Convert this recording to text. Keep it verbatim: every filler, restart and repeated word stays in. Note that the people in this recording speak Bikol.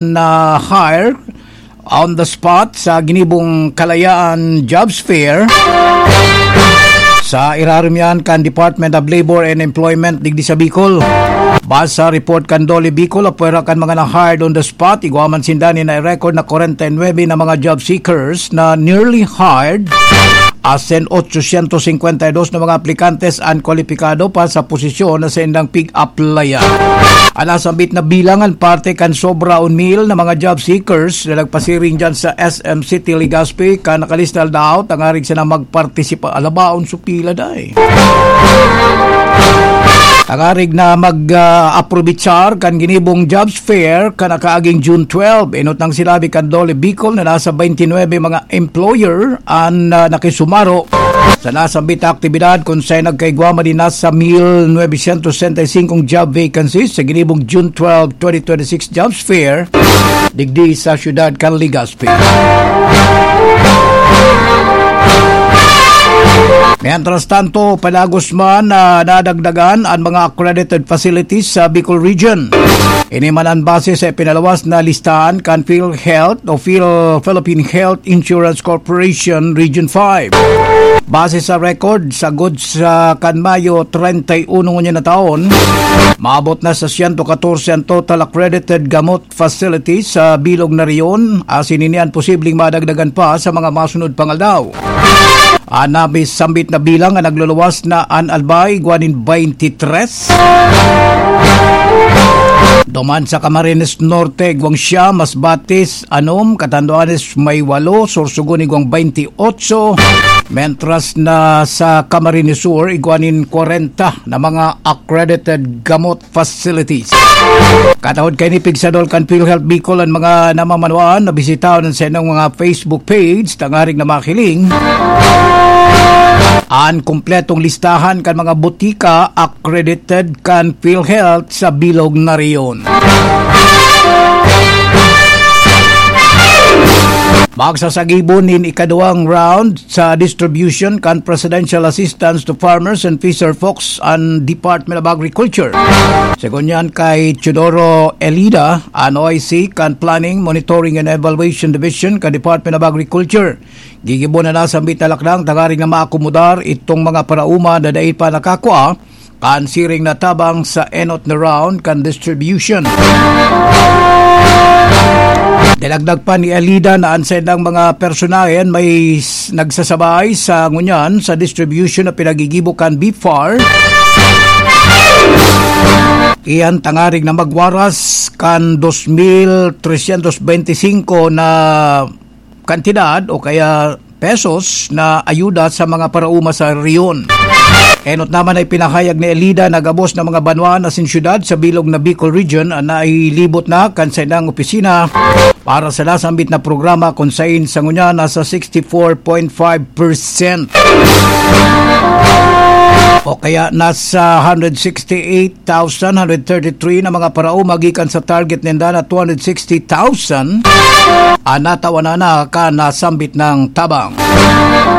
na hire on the spot sa ginibong Kalayaan Jobs Fair. Sa irarom yan kan Department of Labor and Employment digdi sa Bicol. Base sa report kan DOLE Bicol, apwera kan mga na-hired on the spot, igwa man sinda nin nai-record na kwarenta y nuebe na mga job seekers na newly hired, asin otsosyentos singkwenta y dos na mga aplikantes an kwalipikado pa sa posisyon na saindang pig-applyan. An nasambit na bilang an parte kan sobra on mil na mga job seekers na nagpasiring dyan sa S M City Legazpi, kan nakalista daw tangarig sana magpartisipa. Alabaon su pila, day. Tangarig na mag, ah, aprobitsar kan ginibong jobs fair kan nakaaging June twelve. Enot nang sinabi kan DOLE Bicol na nasa twenty-nine mga employer an, ah, nakisumaro sa nasambit na aktibidad, kun saen nagkaigwa man nin nasa mil novecientos sesenta y cinco job vacancies sa ginibong June twelve, twenty twenty-six Jobs Fair digdi sa siyudad kan Legazpi. Mientras tanto, padagos man na nadagdagan an mga accredited facilities sa Bicol Region. Ini man an base sa ipinalawas na listahan kan PhilHealth o Phil-, Philippine Health Insurance Corporation Region five. Base sa record, sagkod sa kan Mayo treinta y uno ngunyan na taon, maabot na sa siyento katorse an total accredited gamot facilities sa bilog na rehiyon, asin ini an posibleng madagdagan pa sa mga masunod pang aldaw. An nasambit na bilang an nagluluwas na an Albay, igwa nin twenty-three. Duman sa Camarines Norte, igwang siyam, Masbate, anom, Catanduanes may walo, Sorsogon igwang twenty-eight, mentras na sa Camarines Sur, igwa nin kwarenta na mga accredited gamot facilities. Katahod kaini, pigsadol kan PhilHealth Bicol an mga namamanwaan na bisitahon an saindang mga Facebook page tangarig na mahiling an kumpletong listahan kan mga botika accredited kan PhilHealth sa bilog na rehiyon. Magsasagibon nin ikaduwang round sa distribution kan Presidential Assistance to Farmers and Fisher Folks an Department of Agriculture. Segun yan kay Teodoro Elida, an O I C kan Planning, Monitoring and Evaluation Division kan Department of Agriculture, gigibo na nasambit na lakdang tangarig na maakomodar itong mga paraoma na dai pa nakakua kan siring na tabang sa enot na round kan distribution. Dinagdag pa ni Elida na an saindang mga personahen may s-, nagsasabay sa ngunyan sa distribution na pinagigibo kan BFAR. Iyan tangarig na magwaras kan dos mil tresyentos benti singko na kantidad o kaya pesos na ayuda sa mga paraoma sa rehiyon. Enot naman ay pinahayag ni Elida na gabos na mga banwa asin syudad sa bilog na Bicol Region an nailibot na kan saindang opisina para sa nasambit na programa, kun sain sa ngunyan nasa sixty-four point five percent. O kaya nasa hundred sixty-eight thousand hundred thirty-three na mga paraoma gikan sa target ninda na two hundred sixty thousand an natawan na kan nasambit na tabang.